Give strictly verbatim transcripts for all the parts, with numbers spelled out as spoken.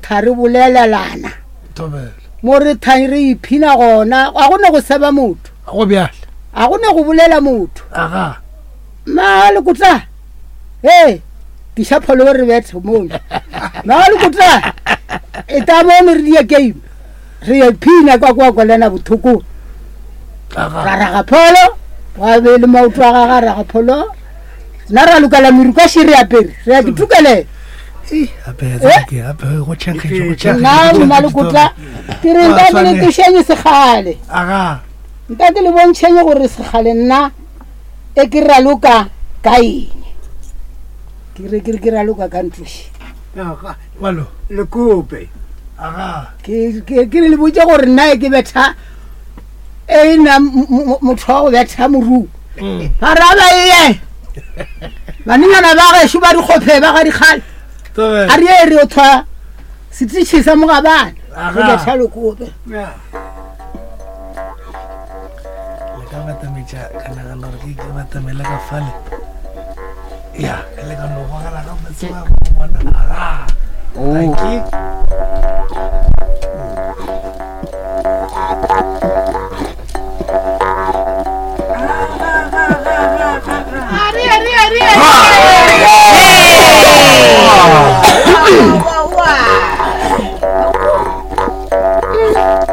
tha re bolelelana Thobela. Mo re tha re iphina gona ga go ne go seba motho Go bjale. Ga go ne go bolela motho. Aga. Ma lekotla. Hey, tiša pholo re bethe mono. Ma lekotla. E ta mono re die game. Re iphina kwa kwa kwalena bothoko. Aga. Ra raga pholo, wa be le maoto a gagwe a raga pholo. Nna ra lokela meruka še re apere, re ya ke thukele. Ee, ape ke ape go tšhenkgetše go tšhenkgetše. Nna mma lekotla ke re nka ke le tlošeng sekgale. Aga. Nka ke le bontšheng gore sekgale nna e ke raloka ka eng. Ke re ke re ke raloka ka ntloši. Aga. Malo. Lekope. Aga. Ke ke ke le botše gore nna e ke betha e nna motho wa go betha moruo. Ba ra ba ye. Banenyana ba gešo ba dikgophe ba ga dikgale. Thobela. A re ye re o thwa setitšhi sa mogabana. Aga. Re betha lekope. Le ka batametša ka nagana gore ke ke batamele ka fale. Ya, le ka no gogela ka botse ba go bona. Aga. Oh. Thank you.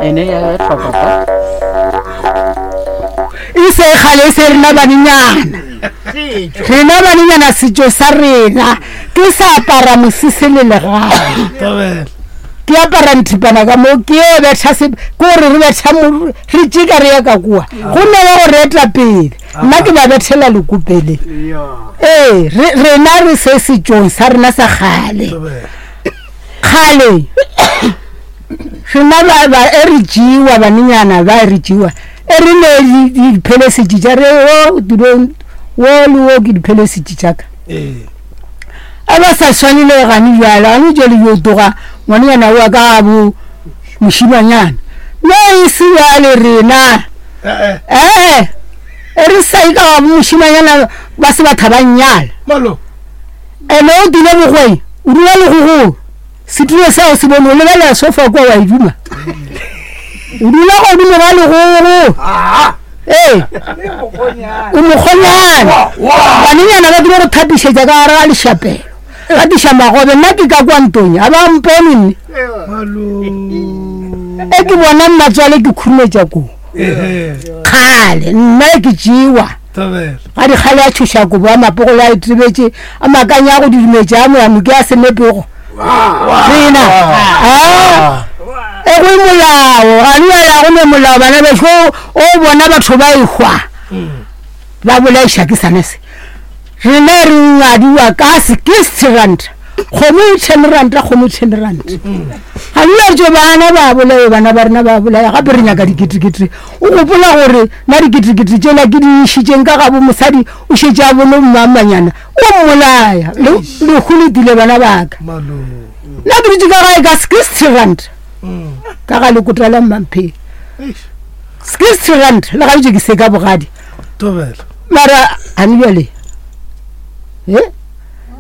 Ene ya bethwa papa. E se kgale e se rena banenyana. Rena banenyana setšo sa rena ke sa apara mosese le legae. Thobela. Ke apara nthipana ka mo ke yo betha se ke gore re betha mo re tšeka re ya ka kua. Go ne wa go re eta pele. Nna ke ba bethela lekopele. Ee, re rena re se setšong sa rena sa kgale. Thobela. Kgale. Rena ba ba e re tšewa banenyana ba e re tšewa. E re ne di diphelesitši tša re o tulong wo le wo ke diphelesitši tša ka. Ee. A ba sa swane le gane bjale, gane jwale yo tloga ngwanenyana wa ka bo mošimanyana. No e se bjale rena. Eh Eh, e re sa e ka ga bo mošimanyana ba se batho ba nnyala. Malo. Ene o dule bogweng, o dula legogong. Setulo seo se bone o lebelela sofa kwa wa e duma. O dula godimo ga legogo. Ah. Ee. O mokgonyana. Banenyana ba dula go thapišetša ka gare ga lešapelo. Ba tliša magobe, nna ke ka kwa ntong, ga ba mpone nne. Malo. E ke bona mmatswale ke khurumetša koo. Eh. Kgale, nna ke tšewa. Thobela. Ga dikgale a tšhoša kobo a mapogolo a itebetše, a makanya a go didumetša a moyano ke a senepego. Rena. Ah. E go molao, ga le ya go ne molao bana bešo o bona batho ba ehwa. Ba bolaiša ke sane se. Rena re ngadiwa ka sixty rand. Kgomo e ten rand, kgomo e ten rand. Ga le tšo bana ba bolaya, bana ba rena ba bolaya, gape re nyaka diketekete. O gopola gore na diketekete tšela ke di išitšeng ka gabo mosadi o šetše a bone mmamanyana, o mmolaya. Lehu le tile bana ba ka. Malo. Nna ke dutše ka gae ka sixty rand. Ka ga lekotla la Mmamphele. Eish. Sixty rand le ga bjale ke se ka bogadi. Thobela. Mara a ne bjale. Eh?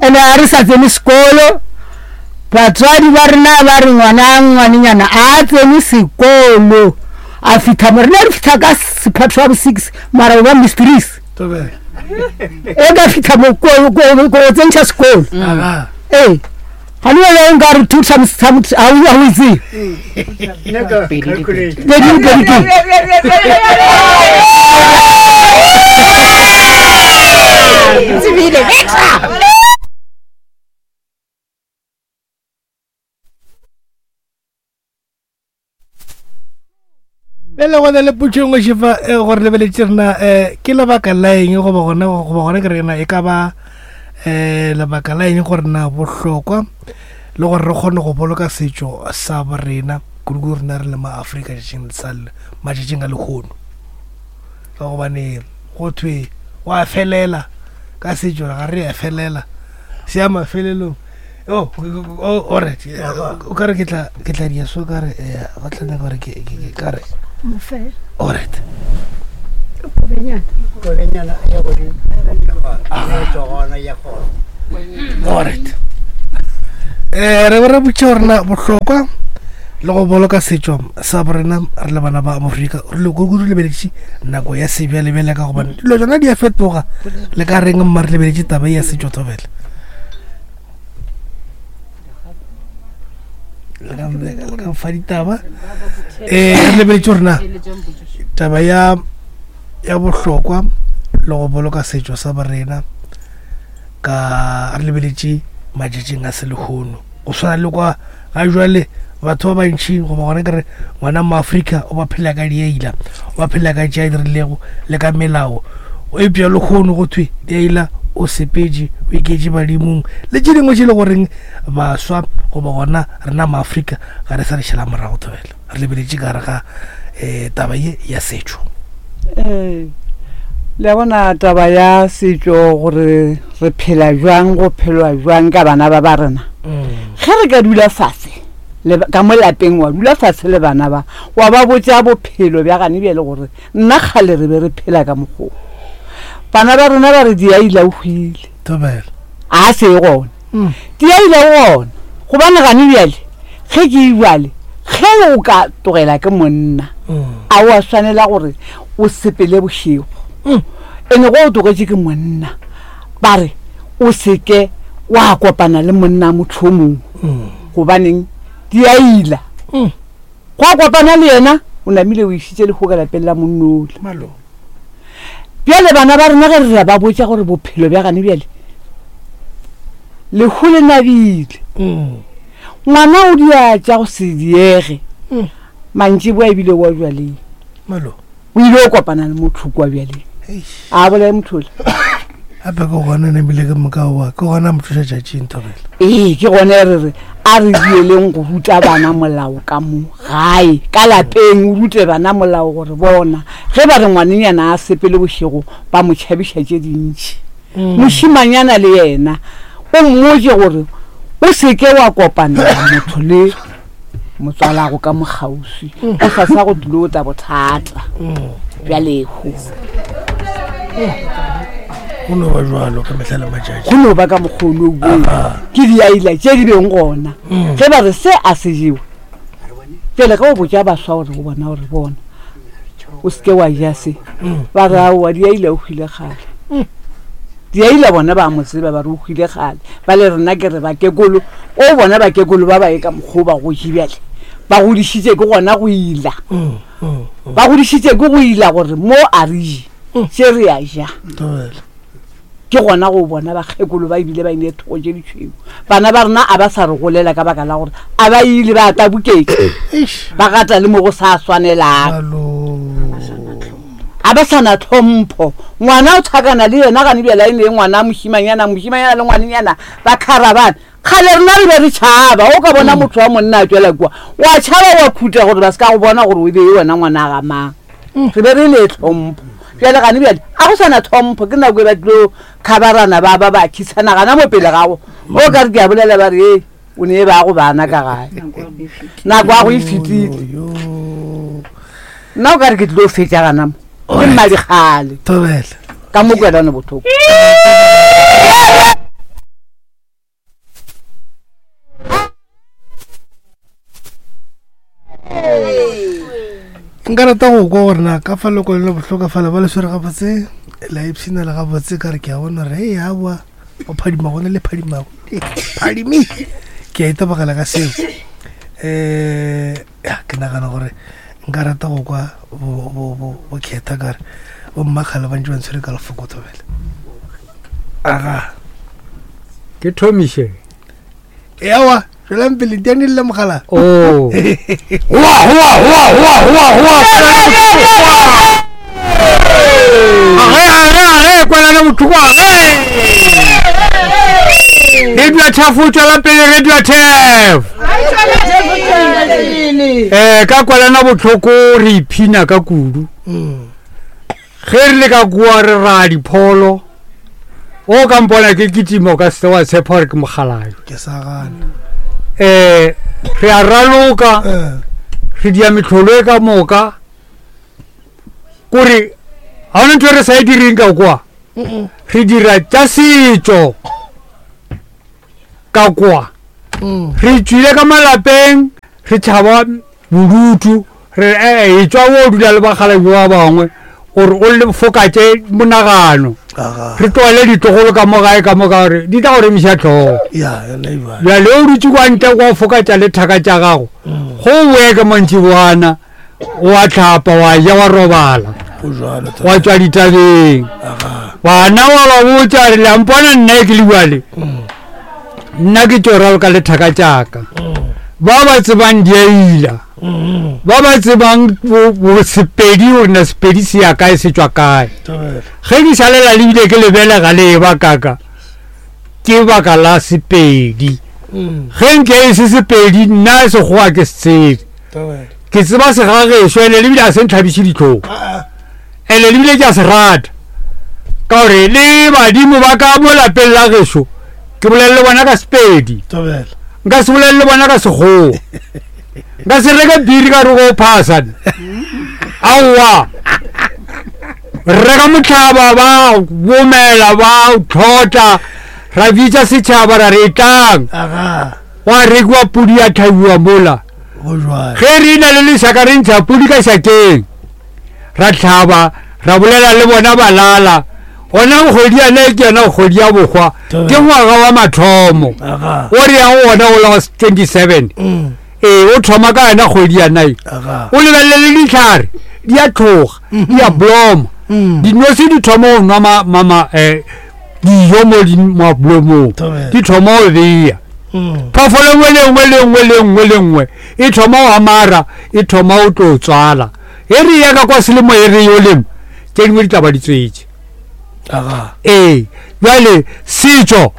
Ene a re sa tsene sekolo. Batswadi ba rena ba re ngwana ngwanenyana a tsene sekolo. A fihla mo rena re fihla ka sephatho wa bo six mara o ba mistress. Thobela. E ka fihla mo ko ko ko tsentšha sekolo. Aga. Ee. Ga le wena nka re two times times ha o ha o itse. Pedi di pedi. Pedi di pedi ke. Tsebile betha. Bjale go na le potšo e nngwe šefa, eh, gore lebeletše rena, eh, ke lebaka la eng goba gona, goba gona ke re na e ka ba, eh, lebaka la eng gore na bohlokwa le gore re kgone go boloka setšo sa borena kudu-kudu rena re le ma Afrika tšatšing sa le, matšatšing a lehono. Ka gobane go thwe go a felela ka setšo, ga re a felela se ya mafelelong. Oh, oh, alright. O ka re ke tla, ke tla dia so ka re, eh, ba tla nyaka gore ke, ke, ke ka re. Mofela. Alright. Kobenyana. Kobenyana ya godimo. Ya tswa gona ya gona. Alright. Eh re re botše gore na bohlokwa le go boloka setšo sa borena re le bana ba Afrika re le go lebeletše nako ya sebjalebjale ka gobane dilo tsona di a fetoga le ka reng mma re lebeletše taba ya setšo thobela le ka fa ditaba eh re lebeletše gore na taba ya ya bohlokwa le go boloka setšo sa borena ka re lebeletše matšatšing a selehono go swana le kwa ga jwale batho ba bantši goba gona ke re ngwana mo Afrika o ba phela ka diaila o ba phela ka tša dirilego le ka melao eupša lehono go thwe diaila o sepetše o iketše badimong le tše dingwe tše le goreng baswa goba gona rena mo Afrika ga re sa re šala morago thobela re lebeletše ka gare ga um taba ye ya setšo. Ee, le a bona taba ya setšo gore re phela jwang go phelwa jwang ka bana ba ba rena. Ge re ka dula fase le ka mo lapeng wa dula fase le bana ba wa ba botša bophelo bja gane bjale gore nna kgale re be re phela ka mokgwa o. Bana ba rena ba re diaila o hwile thobela a se gona diaila o gona gobane gane bjale ge ke ibjale ge o ka tlogela ke monna a o a swanela gore o sepele bošego ene go o tlogetše ke monna ba re o seke wa kopana le monna motho o mongwe gobaneng diaila go a kopana le yena o namile o išitše lehu ka lapeng la monnola. Bjale bana ba rena ge re ra ba botša gore bophelo bja gane bjale lehu le nabile ngwana o dia tša go se diege mantšiboa ebile wa bjaleng o ile o kopana le motho kwa bjaleng a bolae motho ola gape ke gona namile ke moka oa ke gona mo tloša tšatšing thobela. Ee ke gone re re a re dieleng go ruta bana molao ka mo gae ka lapeng o rute bana molao gore bona ge ba re ngwanenyana a sepele bošego ba mo tšhabiša tše dintši mošimanyana le yena o mmotše gore o seke wa kopana motho le motswalago ka mokgauswi o sa sa go tlilo tla bothata bja lehu. Go no ba jwalo ka mehla le matšatši go no ba ka mokgono o ke diaila tše di beng gona ge ba re se a se jewe pele ge o botša baswa gore o bona gore bona o seke wa ja se ba re aowa diaila o hwile kgale diaila bona ba mo tseba ba re o hwile kgale ba le rena ke re bakekolo o bona bakekolo ba ba ye ka mokgwa o ba gotše bjale ba godišitše ke gona go ila ba godišitše ke go ila gore mo a re je tše re a ja ke gona go bona bakgekolo ba ebile ba ine thoko tše ditšhweu bana ba rena a ba sa re golela ka baka la gore a ba ile ba tabuketše ba gata le mo go sa swanelang a ba sa na tlhompho ngwana o thakana le yena gane bjale a ene ngwana mošimanyana mošimanyana le ngwanenyana ba kharabane kgale rena re be re tšhaba o ka bona motho wa monna a tswela kua wa tšhaba wa khuta gore ba se ka go bona gore o be e wena ngwana ga mang re be re le tlhompho bjale gane bjale a go sana tlhompho ke nako e ba tlilo khabarana ba ba ba khisana gana mo pele gago o ka re ke a bolela ba re e o ne ba go bana ka gae nako ya go e fetile nna o ka re ke tlilo fetša gana mo ke mmadikgale ka mo kwelane bohloko. Nka rata go kwa gore na ka fa leko le bohloko fale ba le swere gabotse la ipshina le gabotse ka re ke a bona gore e aowa o phadima gona le phadimago phadimi ke a itebogela ka seo um ke nagana gore nka rata go kwa bo kgetha kare bo mmakgale ba ntse ba ntshwere ka lefoko thobela aga ke thomiše ewa tswelang pele diane le mogala oh hoa hoa hoa hoa hoa hoa age age age kwelana bohloko age radio Turf o tswela pele radio Turf eh ka kwelana bohloko re iphina ka kudu ge re le ka kua re ra dipholo o ka mpona ke kitima o ka se wa tshepa gore ke mogalayo ke sa gana eh re a raloka re dia metlholo e ka moka kore ga ona ntho e re sa e direng ka kwa re dira tša setšo ka kwa Re tswile ka malapeng re tšhaba bodutu re e tswa o dula le bakgalabje ba bangwe gore o le fokatše monagano. Re tlogele ditlogolo ka mo gae ka mo ka gore di tla go remiša tlhogo. Bjale o dutse kwa ntle kwa fokatša le thaka tša gago go boe ke mantšiboana wa tlhapa wa ja wa robala wa tswa ditabeng. Bana wa ba botša re le mpona nna ke le bjale nna ke tšo raloka le thaka tšaka. Ba ba tsebang diaila ba ba tsebang sepedi gore na sepedi se ya kae se tšwa kae. Ge ke šalela lebile ke lebelega le e ba kaka ke baka la sepedi. Ge nke e se sepedi nna sekgowa ke se tsebe. Ke tseba segagešo ene lebile a se ntlhabiše ditlhong ene lebile ke a se rata ka gore le badimo ba ka mo lapeng la gešo ke bolele le bona ka sepedi, nka se bolele le bona ka sekgowa, nka se reke biri ka re go phasa aowa. Reka motlhaba ba bomela ba tlhotla ra bitša setšhaba ra re etlang wa rekiwa pudi ya thabiwa mola. Ge re na le lešaka re ntšha pudi ka šakeng ra tlhaba ra bolela le bona balala. Gona kgwedi yane ke yona kgwedi ya bokgwa ke ngwaga wa mathomo o re yang gona o la twenty-seven. Ee o thoma ka yona kgwedi yanae o lebelele le ditlhare di a tloga di a bloma dinose di thoma go nwa mama dijo mo mablomong di thoma go beya. Phoofolo nngwe le nngwe le nngwe le nngwe le nngwe e thoma go amara e thoma go tlo tswala. E re ya ka kwa selemo e re yo lema tše dingwe di tla ba di tswetše. Ee bjale setšo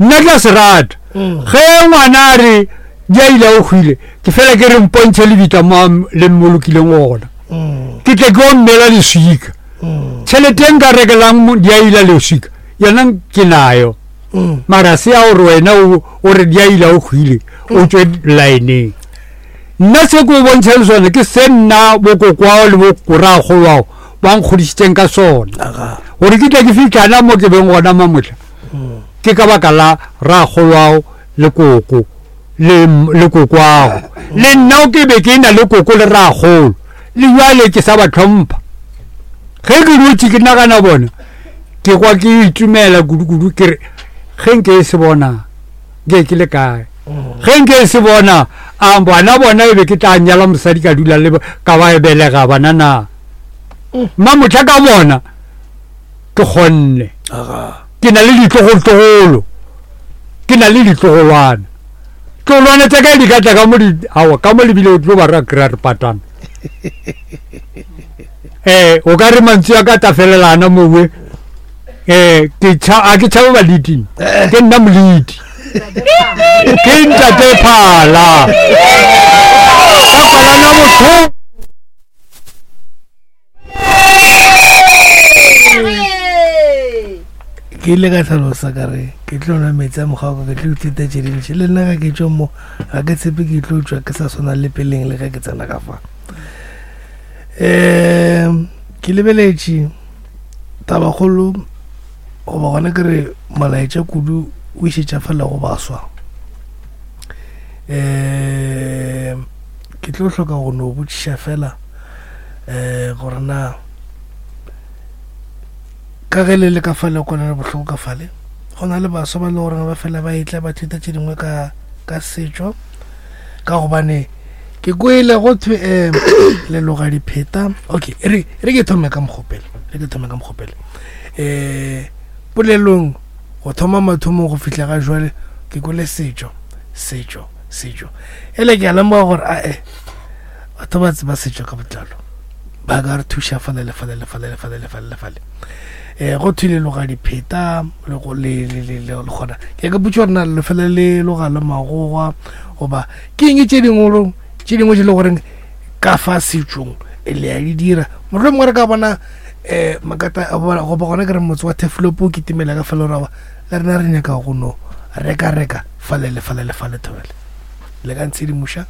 nna ke a se rata. Ge ngwana a re diaila o hwile ke fela ke re mpontšhe lebitla mo le mmolokileng gona ke tle ke o mmela leswika. Tšhelete nka rekelang diaila leswika yona ke nayo mara se ya gore wena o re diaila o hwile o tswe lineng. Nna se ke o bontšhang sone ke se nna bokokwao le bokoragolwao ba nkgodišitšeng ka sona gore ke tle ke fitlhana mo ke beng gona mamotla ke ka baka la ragolwao le koko le le kokwao le nna ke be ke na le koko le ragolo le jwale ke sa ba tlhompha. Ge ke dutše ke nagana bona ke kwa ke itumela kudu-kudu ke re ge nke e se bona nke ke le kae, ge nke e se bona a bana bona e be ke tla nyala mosadi ka dula le ka ba e belega bana na. Mmamotla ka bona ke kgonne ke na le ditlogolotlogolo ke na le ditlogolwana tlogolwana tša ka di ka tla ka mo aowa ka mo lebile o tlo ba ra kry-a re patana. Ee o ka re mantswe a ka tafelelana mowe um ke a ke tšhabe baledi ke nna moledi ke ntate phala ka kwalana botlhoko. Ke ile ka tlhalosa ka re ke tlo nwa metsi a mokgwa ka ke tlo ithuta tše dintši le nna ga ke tšo mo ga ke tshepe ke tlo tšwa ke sa swana le peleng le ge ke tsena ka fa. Um ke lebeletše tabakgolo goba gona ke re molaetša kudu o išetša fela go baswa. Um ke tlo hloka go no botšiša fela um gore na ka ge le le ka fale kwana le bohloko ka fale go na le baswa ba le gore ba fela ba etla ba thuta tše dingwe ka ka setšo ka gobane ke kwele go thwe um le loga dipheta. Okay e re e re ke thome ka mokgopele re ke thome ka mokgopele um polelong go thoma mathomong go fihla ga jwale ke kwele setšo setšo setšo ele ke a lemoga gore ae batho ba tseba setšo ka botlalo ba ka re thuša fale le fale le fale le fale le fale le fale. Um go thwe le loga dipheta le go le le le le gona ke ka botša gore na le fela le loga le magogwa goba ke eng tše dingwe tše dingwe tše le goreng ka fa setšong le a di dira. Mohlomongwe re ka bona um makata goba gona ke re motse wa Turfloop ke timela ka fela rawa le rena re nyaka go no reka reka fale le fale le fale thobele le ka ntshedimoša.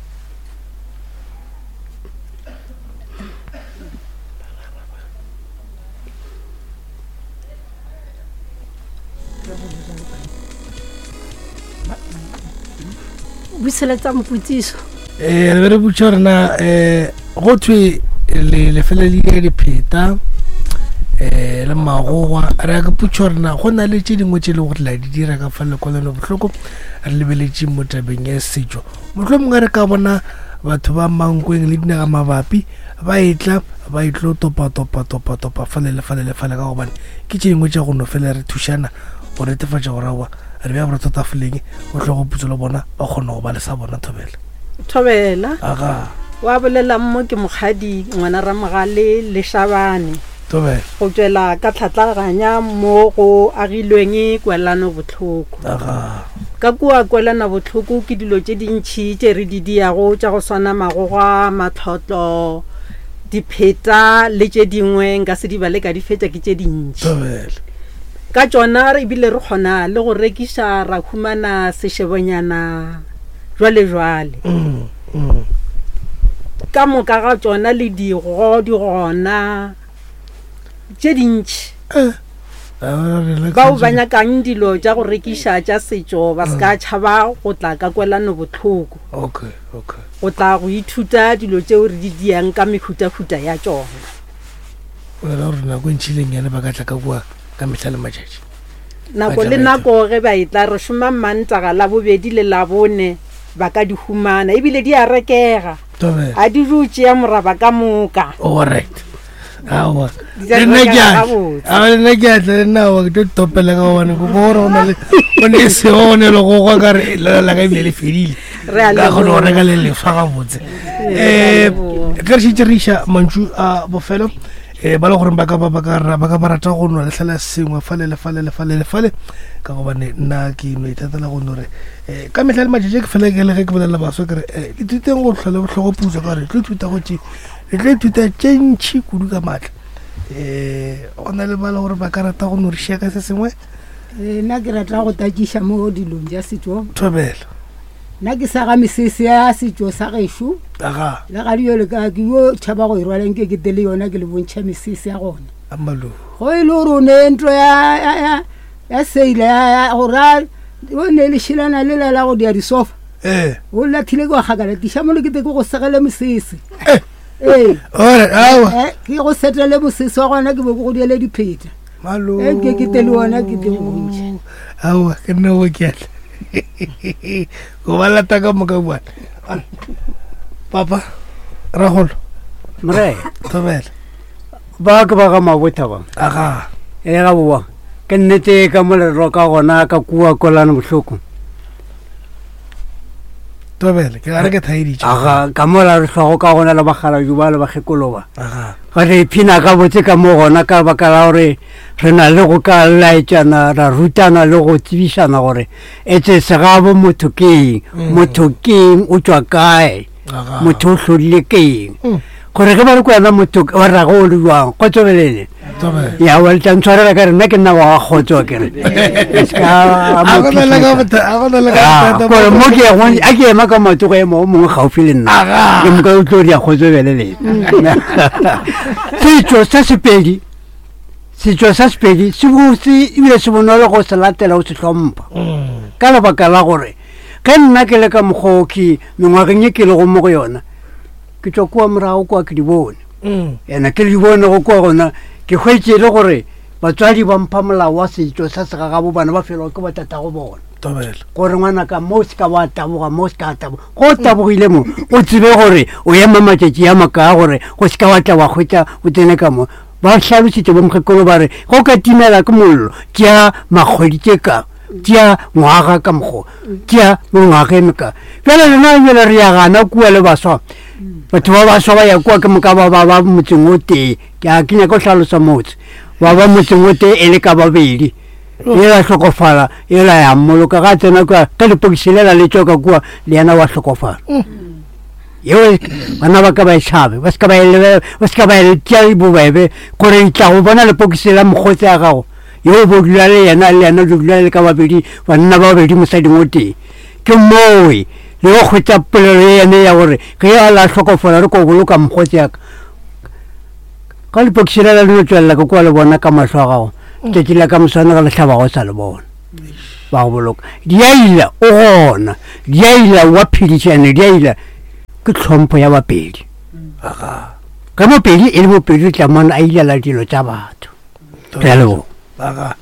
Bušeletsa mpotsiso. Eh re be re botša gore na um go thwe le lefelelile dipheta um le magogwa re ya ke potša gore na go na le tše dingwe tše e leng gore la di dira ka fa lekwalano bohloko re lebeletše mo tabeng ya setšo mohlho mongwe re ka bona batho ba mankweng le dinaga mabapi ba etla ba etlo topa topa topa topa fale le fale le fale ka gobane ke tše dingwe tša go no fela re thušana go netefatša gore aowa re bea borotho tafoleng go tle go putso le bona ba kgone go ba le sa bona thobela Thobela. Aga. Wa bolela mo ke mokgadi ngwana Ramogale le Shabane. Thobela. Go tswela ka tlhatlaganya mo go agilweng kwelano bohloko. Aga. Ka kua kwelana bohloko ke dilo tše dintši tše re di diago tša go swana magogwa, matlotlo, dipheta le tše dingwe nka se di bale ka di fetša ke tše dintši. Thobela. Ka tšona re ebile re kgona le go rekiša ra humana sešebonyana jwale jwale. Mm, mm. Ka moka ga tšona le digo di gona tše dintši. Eh. Ah, relax, Bao ba nyakang dilo tša go rekiša tša setšo ba se ka tšhaba go tla ka kwelano bohloko. Okay, okay. Go tla go ithuta dilo tšeo re di diang ka mehutahuta ya tšona. O ra gore nako e ntšhileng yane ba ka tla ka kua ka mehla le matšatši. Nako le nako ge ba etla re šoma Mantaga, Labobedi le Labone ba ka di humana ebile di a rekega. Thobela. A di jo tšea moraba ka moka. Alright. Aowa. Di tla Le nna ke rekega a tla. gabotse. Aowa, le nna ke a tla, le nna aowa, ke tlo topela ka gobane ke gore go na le go ne sego go ne le gogwa ka re lela la ka ebile le fedile. Re a Ka kgona go leboga. reka le lefa gabotse. Re a Eh, leboga. ge re šetše re iša mantšu a bofelo eh ba le gore ba ka ba ba ka ra- ba ka ba rata go nwa lehla sengwe fale le fale le fale le fale ka gobane nna ke no ithatela go no re eh ka mehla le matšatši ke fela ke le ge ke bolelela baswa ke re eh ithuteng go hlwa le bohloko putswa ka gore le tlo ithuta go tše le tlo ithuta tše ntšhi kudu ka maatla eh go na le ba le gore ba ka rata go no re šia ka se sengwe Eh, nna ke rata go takiša mo dilong tša setšo. Thobela. Nna ke sa ga mesese ya setšo sa gešo. Aga. Le ga di yo le ka ke yo tšhaba go e rwala nke ke tele yona ke le bontšha mesese ya gona. Amalo. Go e le gore o ne ntlo ya, ya, ya, ya seila ya, ya, go ra, o ne le šilana le la la go dia disofa. Eh. O lathile ke wa kgakala, tiša mo le ke te ke go segele mesese. Eh. Ee. Ore, aowa. Eh, ke go setele mosese wa gona ke be ke go diele dipheta. Malo. Eh, nke ke tele yona ke tle go bontšha. Aowa, ke nna o ke atla. Go ba lata ka moka bua. Papa, Ragolo. Mre. Thobela. Ba ke ba ga Mabotha ba. Aga. E ga boa. Ke nnete ka mo le roka gona ka kua kolane bohloko. Thobela, ke gare ke thaeditše. Aga, ka mo la re hlwago ka gona le bakgalabje ba le bakgekolo ba. Aga. Ga re iphina ka botse ka mo gona ka baka la gore re na le go ka laetšana, ra rutana le go tsebišana gore etse segabo motho ke eng, Mm. motho ke eng, o tšwa kae, Aga. motho o hlodile ke eng. Mm. Gore ge ba re ko wena motho wa rrago o le jwang, kgotsofalele. Thobela. Ya, wa le tla ntshwarela ka re nna ke nna wa ga kgotso ke re. E se ka A mo go na le ka phihlisa. botha- a go na le ka Ah, bothata kore bo- mo ke yang, a ke ema ka maoto go ema o mongwe gaufi le nna. Aga. Ke moka o tlo dia kgotsofele le. Setšo sa Sepedi, setšo sa Sepedi se botse ebile se bonolo go se latela o se hlompha. Mm. Ka lebaka la gore ge nna ke le ka mokgwa o ke mengwageng e ke lego mo go yona, ke tšwa kua morago kua ke di bone. Mm. Ena ke di bone go kua gona, ke hwetše e le gore batswadi ba mpha molao wa setšo sa segagabo bana ba felwa ke batatago bona. Thobela. Gore ngwanaka mo o se ka wa taboga, mo o se ka taboga. Go o tabogile mo, o tsebe gore o ema matšatši a makaa gore go se ka wa tla wa hwetša o tsene ka mo. Ba hlalositše bo mokgekolo ba re, go ka timela ke mollo, tšea makgwedi tše ka, tšea ngwaga ka mokgo, tšea mengwaga e meka. Bjale rena bjale re ya gana kua le baswa. Batho ba baswa ba ya kua ke moka ba ba ba motseng o tee. Ke a ke nyaka go hlalosa motse. Ba ba motseng o tee e le ka babedi. Ela hlokofala, ela ya mmoloka. Ga tsena kua, ka lepokisi lela le tšwa ka kua, le yena wa hlokofala. Yeo bana ba ka ba e tšhabe, ba se ka ba e lebe-, ba se ka ba e tšea bobebe, gore e tla go bona lepokisi la mokgotsi ya gago. Yeo bo dula le yena, le yena o dula le ka babedi, banna ba babedi mosading o tee. Ke mowe, le go hwetša polelo ye yene ya gore ge a la hlokofala re ko boloka mokgotsi ya ka. Ka lepokisi lela le no tšwelela ka kua le bona ka mahlo a gago. Tšatši la ka moswane ge le hlaba go sa le bona. Ba go boloka. Diaila o gona. Diaila wa phedišana, diaila ke tlhompho ya Bapedi. Aga. Ge Mopedi e le Mopedi, o tla mona a ilela dilo tša batho. Re a leboga. Aga.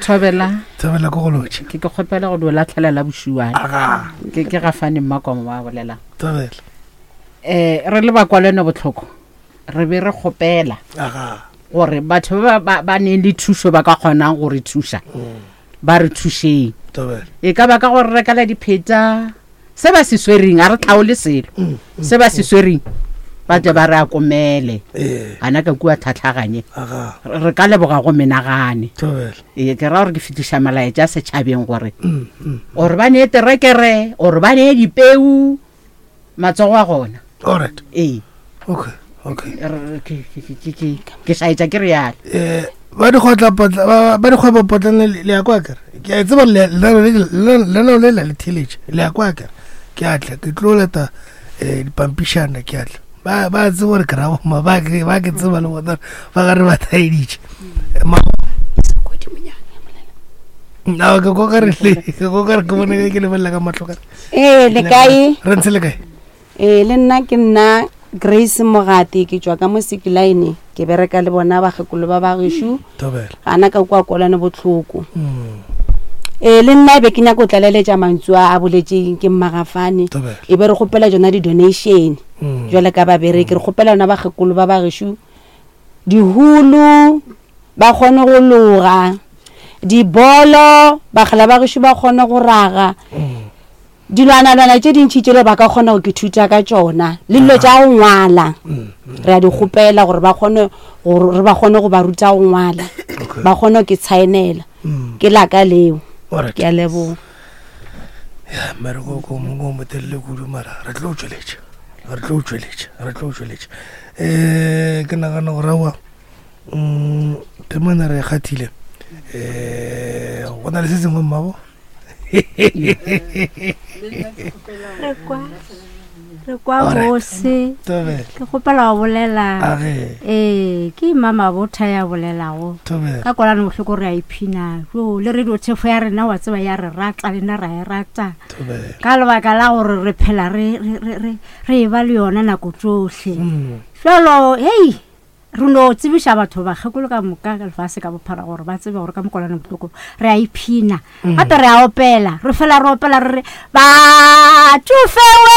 Thobela. Thobela ko go lotšha. Ke ke kgopela go dio latlhela la bošuane. Aga. Ke ke gafane mmakomo wa bolelang. Thobela. Eh re le bakwalene botlhoko. Re be re kgopela. Aga. Gore batho ba ba ba neng le thušo ba ka kgonang go re thuša. Ba re thušeng. Thobela. E ka ba ka gore rekela dipheta se ba se swereng a re tlhaole selo. Se ba se swereng ba tle ba re akomele. Ee. Ana ka kua tlhatlhaganye. Aga. Re ka leboga go menagane. Thobela. Ee, ke ra gore ke fetiša molaetša setšhabeng gore gore ba nee terekere, gore ba nee dipeu, matsogo a gona. Alright. Ee. Okay, okay. Re- ke- ke- ke- ke- ke šaetša ke realo. Eh, ba dikgwetla-potla- ba ba dikgwebopotlana le le ya kwa kere. Ke a e tseba le- lenaneo le- le- lenaneo le la le theeletše. Le ya kwa kere. Ke a tla, ke tlo leta, eh, dipampišana, ke a tla. Ba, ba tseba gore ke ra bomma, ba ke, ba ke tseba le bona, ba gare ba thaeditše. Eh, ma- No, ke kwa kare le, ke kwa kare ke bone ke lebelela ka mahlo kare. Ee, le kae? Re ntse le kae? Ee, le nna ke nna Grace Mogati, ke tšwa ka mo Sekilaene, ke bereka le bona bakgekolo ba ba gešo. Thobela. Gana ka kua Kolane botlhoko. Mm. Ee, le nna e be ke nyaka go tlaleletša mantšu a a boletseng ke Mmagafane. Thobela. E be re kgopela tšona di-donation. Mm. Jwale ka babereki, re kgopela yona bakgekolo ba ba gešo dihulu ba kgone go loga, dibolo bakgala ba gešo ba kgone go raga, dilwanalwana tše dintši tšele ba ka kgona go ke thuta ka tšona, le dilo tša go ngwala re a di kgopela gore ba kgone gore re ba kgone go ba ruta go ngwala, ba kgone go ke tshaenela. Ke laka leo. Alright. Ke a leboga. Ya, mmereko ko mongwe o motelele kudu, mara re tlo tšweletša, re tlo tšweletša, re tlo tšweletša. Eh, ke nagana gore aowa, mm, temana re e kgathile. Eh, go na le se sengwe mmabo? Re kwa, re kwa Alright. bose. Thobela. Ke kgopela go bolela. Age. Ee, ke Mama Botha ya bolelago. Thobela. Ka Kolane bohloko re a iphina. Jo, le radio thefo ya rena wa tseba ya re rata, le nna ra e rata. Thobela. Ka lebaka la gore re phela re, re, re, re, re e ba le yona nako tsohle. Mm. Jwalo, hei, re no tsebiša batho bakgekolo ka moka ka lefase ka bophara gore ba tsebe gore ka mokolane bohloko re a iphina. Mm. Gape re a opela, re fela re opela re re, batšofewe.